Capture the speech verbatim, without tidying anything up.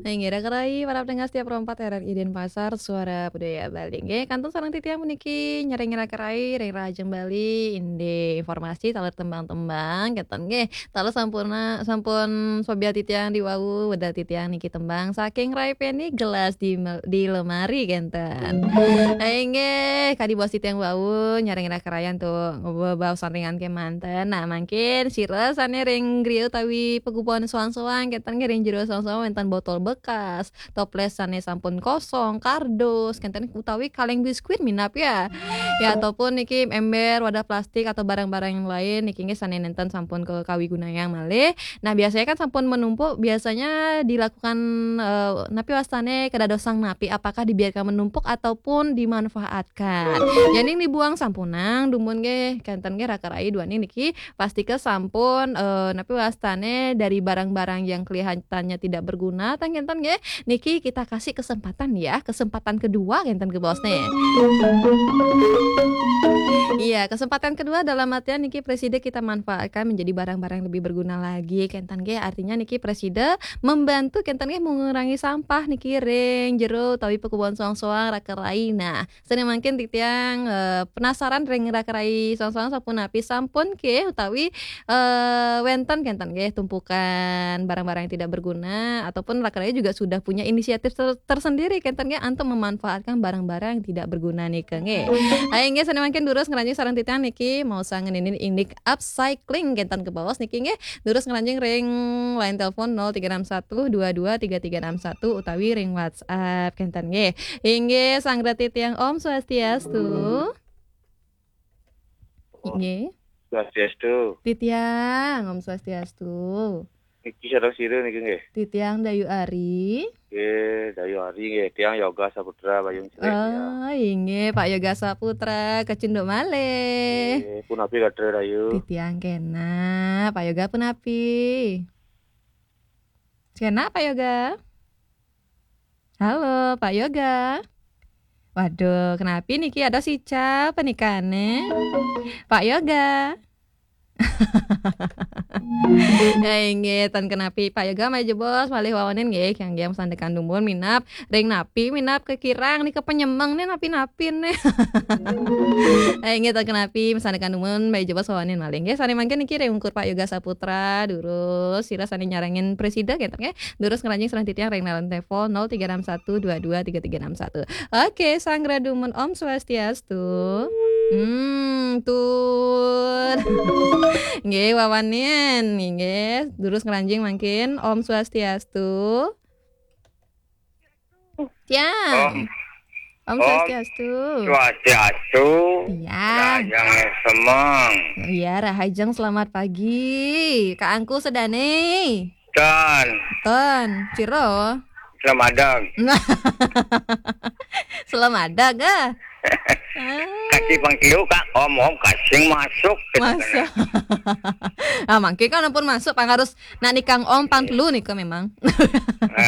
Inggih, raka rai, para pendengar setia Pro empat R R I Denpasar, Suara Budaya Bali. Inggih, kantun sareng titiang puniki nyarengin raka rai, ring rahajeng Bali, indik informasi taler tembang-tembang, kenten nggih. Taler sampurna, sampun sobiah titiang diwau, wedal titiang niki tembang saking Rai Peni, Gelas di Mel-, di Lemari, kenten. Inggih, kadi baos titiang wau, nyarengin raka rai antuk bebaosan ringan kemanten. Nah, mangkin sira sane ring griya utawi pagubuan soang-soang, kenten nggih ring jero soang-soang wenten botol bekas, toples sane sampun kosong, kardus, kenten utawi kaleng biskuit minab ya. Ya, ataupun niki ember, wadah plastik atau barang-barang yang lain niki nggih sane nenten sampun ke kawigunayang malih. Nah, biasanya kan sampun menumpuk, biasanya dilakukan, eh, napi wastane, kedadosan napi, apakah dibiarkan menumpuk ataupun dimanfaatkan? Yening dibuang sampunang, dumun nggih, kenten nggih raka rai duaning niki pastika sampun, eh, napi wastane, dari barang-barang yang kelihatannya tidak berguna, tah kenten nggih, niki kita kasih kesempatan ya, kesempatan kedua kenten ke bosne. Iya, kesempatan kedua dalam artian niki presida kita manfaatkan menjadi barang-barang yang lebih berguna lagi, kenten nggih. Artinya niki presida membantu kenten nggih mengurangi sampah niki ring jero utawi pakubuan soang-soang raka rai. Nah, sane mangkin titiang, eh, penasaran ring raka rai soang-soang sapunapi sampun ke utawi, eh, wenten kenten nggih tumpukan barang-barang yang tidak berguna ataupun raka rai juga sudah punya inisiatif ter-, tersendiri kenten nggih antuk memanfaatkan barang-barang yang tidak berguna nika nggih. Ayo nggih sane mangkin durus ngranjing sareng titiang niki mau sangenin indik upcycling kenten ke bawah niki nggih. Durus ngranjing ring line telepon nol tiga enam satu dua dua tiga tiga enam satu utawi ring WhatsApp kenten nggih. Inggih, sanggra titiang Om Swastiastu. Inggih. Swastiastu. Titiang, Om Swastiastu. Niki sareng sira niki nggih. Titiang Dayu Ari. Nggih, Dayu Ari nggih. Tiang Yoga Saputra Bayung Sri. Oh, inggih, Pak Yoga Saputra, kecunduk malih. Nggih, punapi gatra Dayu? Titiang kena, Pak Yoga punapi? Kena, Pak Yoga? Halo, Pak Yoga. Waduh, kenapi niki ada sica penikane? Pak Yoga. Ya, inggih, tan kenapi Pak Yoga malih jebos, malih wawanin nggih, kang nggih sandekan dumun minab, ring napi minab kekirang nika penyemeng nih napi-napi nih. Ya, inggih, tan kenapi sandekan dumun malih jebos wawanin malih nggih. Sane mangkin niki ring ungkur Pak Yoga Saputra, durus sira sane nyarengin presida kenten nggih. Durus ngranjing sareng titiang ring line telepon nol tiga enam satu dua dua tiga tiga enam satu. Oke, sanggra dumun Om Swastiastu. Hmm, tut. Nggih, wawanin, nggih. Durus ngranjing mangkin Om Swastiastu. Tiang. Om. Om Om Swastiastu. Swastiastu. Iya. Rahajeng semeng. Iya, rahajeng selamat pagi. Kak Angku sedane. Ton. Ton, ciro. Selamadeg. Selamadeg, ah. Ah. Kasih pangkiu, Kak. Om, om, kasih masuk. Masuk. Ah, mangke kan ampun masuk, pang harus nak nikang om pang telu nika memang.